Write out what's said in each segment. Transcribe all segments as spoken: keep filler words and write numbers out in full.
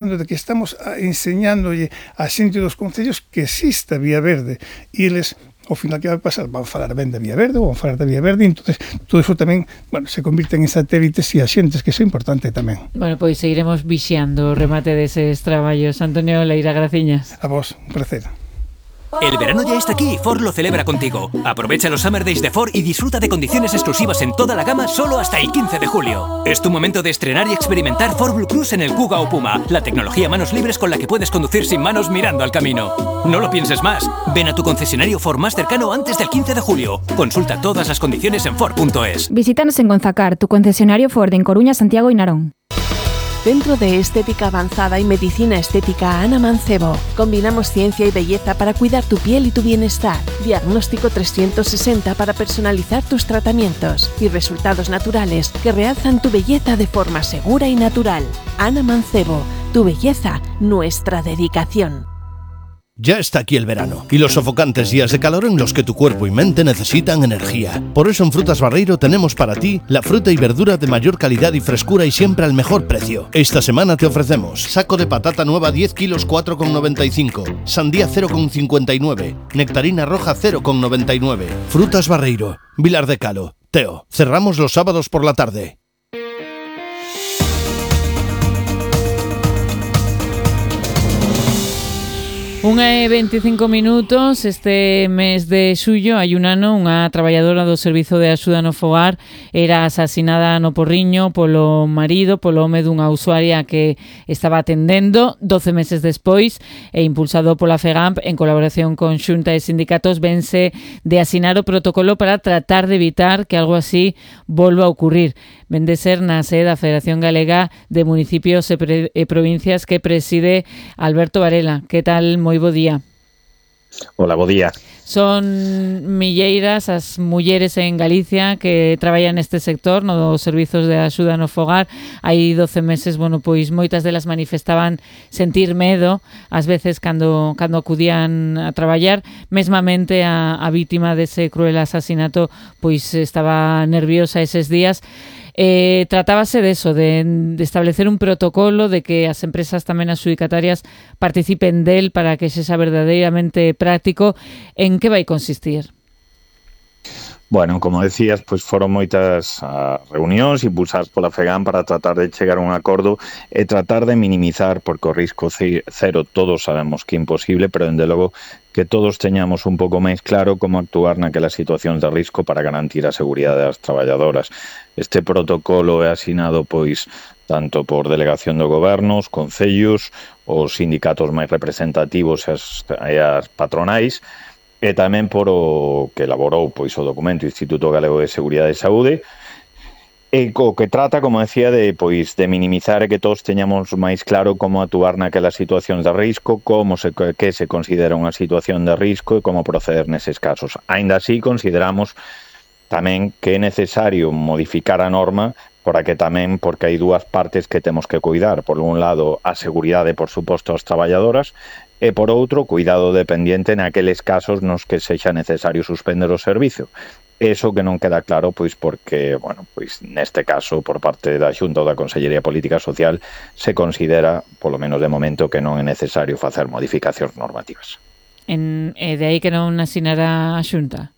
de que estamos enseñándolle a xente dos concellos que exista Vía Verde e eles ao final que vai pasar van falar ben da Vía Verde ou van falar da Vía Verde, entonces todo eso tamén, bueno, se convirten en satélites e axentes, que iso é importante tamén. Bueno, pois seguiremos vixiando o remate deses traballos. Antonio Leira, graciñas. A vos, un placer. El verano ya está aquí y Ford lo celebra contigo. Aprovecha los Summer Days de Ford y disfruta de condiciones exclusivas en toda la gama solo hasta el quince de julio. Es tu momento de estrenar y experimentar Ford Blue Cruise en el Kuga o Puma, la tecnología manos libres con la que puedes conducir sin manos mirando al camino. No lo pienses más. Ven a tu concesionario Ford más cercano antes del quince de julio. Consulta todas las condiciones en Ford punto es. Visítanos en Gonzacar, tu concesionario Ford en Coruña, Santiago y Narón. Centro de Estética Avanzada y Medicina Estética Ana Mancebo. Combinamos ciencia y belleza para cuidar tu piel y tu bienestar. Diagnóstico trescientos sesenta para personalizar tus tratamientos. Y resultados naturales que realzan tu belleza de forma segura y natural. Ana Mancebo, tu belleza, nuestra dedicación. Ya está aquí el verano y los sofocantes días de calor en los que tu cuerpo y mente necesitan energía. Por eso en Frutas Barreiro tenemos para ti la fruta y verdura de mayor calidad y frescura y siempre al mejor precio. Esta semana te ofrecemos saco de patata nueva diez kilos cuatro con noventa y cinco, sandía cero con cincuenta y nueve, nectarina roja cero con noventa y nueve. Frutas Barreiro, Vilar de Calo, Teo. Cerramos los sábados por la tarde. Unha e veinticinco minutos. Este mes de xullo hai un ano unha traballadora do Servizo de Axuda no Fogar era asasinada no Porriño polo marido, polo home dunha usuaria que estaba atendendo. doce meses despois e impulsado pola FEGAMP en colaboración con Xunta e sindicatos vense de asinar o protocolo para tratar de evitar que algo así volva a ocurrir. Ven de ser na sede da Federación Galega de Municipios e, pre- e Provincias que preside Alberto Varela. Que tal? Moi bo día. Hola, bo día. Son milleiras as mulleres en Galicia que traballan neste sector, no dos servizos de axuda no fogar. Hai doce meses, bueno, pois moitas delas manifestaban sentir medo, ás veces cando cando acudían a traballar, mesmamente a, a vítima dese cruel asasinato, pois estaba nerviosa eses días. Eh, tratábase de eso, de, de establecer un protocolo, de que as empresas tamén adxudicatarias participen del para que sexa verdadeiramente práctico. En que vai consistir? Bueno, como decías, pues foron moitas uh, reunións impulsadas pola FEGAM para tratar de chegar a un acordo e tratar de minimizar, porque o risco cero todos sabemos que é imposible, pero dende logo que todos teñamos un pouco máis claro como actuar naquelas situacións de risco para garantir a seguridade das traballadoras. Este protocolo é asinado pois tanto por delegación do goberno, os concellos, os sindicatos máis representativos e as, e as patronais, e tamén por o que elaborou pois o documento Instituto Galego de Seguridade e Saúde, e co que trata, como decía, de pois de minimizar e que todos teñamos máis claro como actuar naquelas situacións de risco, como se que se considera unha situación de risco e como proceder neses casos. Aínda así, consideramos tamén que é necesario modificar a norma para que tamén, porque hai dúas partes que temos que cuidar. Por un lado, a seguridade, por suposto, das traballadoras, e por outro, cuidado dependiente naqueles casos nos que sexa necesario suspender o servizo. Eso que non queda claro, pois porque, bueno, pois neste caso, por parte da Xunta ou da Consellería de Política Social, se considera, polo menos de momento, que non é necesario facer modificacións normativas. En, e de aí que non asinará a Xunta?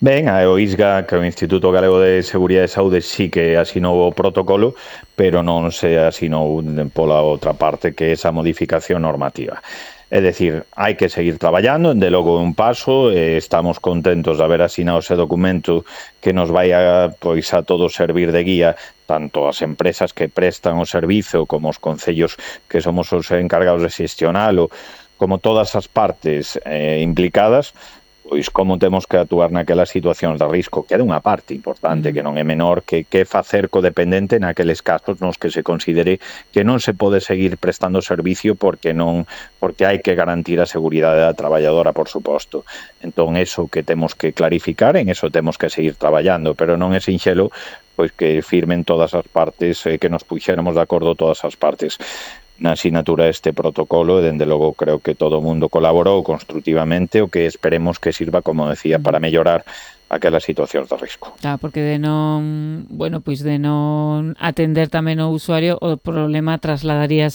Ben, a O I S G A, que é o Instituto Galego de Seguridade e Saúde, sí que asinou o protocolo, pero non se asinou pola outra parte, que é esa modificación normativa. É dicir, hai que seguir traballando, de logo un paso, eh, estamos contentos de haber asinado ese documento que nos vai a, pois, a todos servir de guía, tanto as empresas que prestan o servizo como os concellos que somos os encargados de xestionalo, como todas as partes eh, implicadas, pois como temos que actuar naquelas situacións de risco, que é unha parte importante, que non é menor, que que facer co dependente naqueles casos nos que se considere que non se pode seguir prestando servicio porque non porque hai que garantir a seguridade da traballadora, por suposto. Entón, eso que temos que clarificar, en eso temos que seguir traballando, pero non é sinxelo pois que firmen todas as partes, eh, que nos puxéramos de acordo todas as partes. na asinatura deste protocolo e, dende logo, creo que todo o mundo colaborou constructivamente, o que esperemos que sirva, como decía, para mellorar aquelas situacións de risco. Claro, porque de non, bueno, pois de non atender tamén o usuario, o problema trasladaríase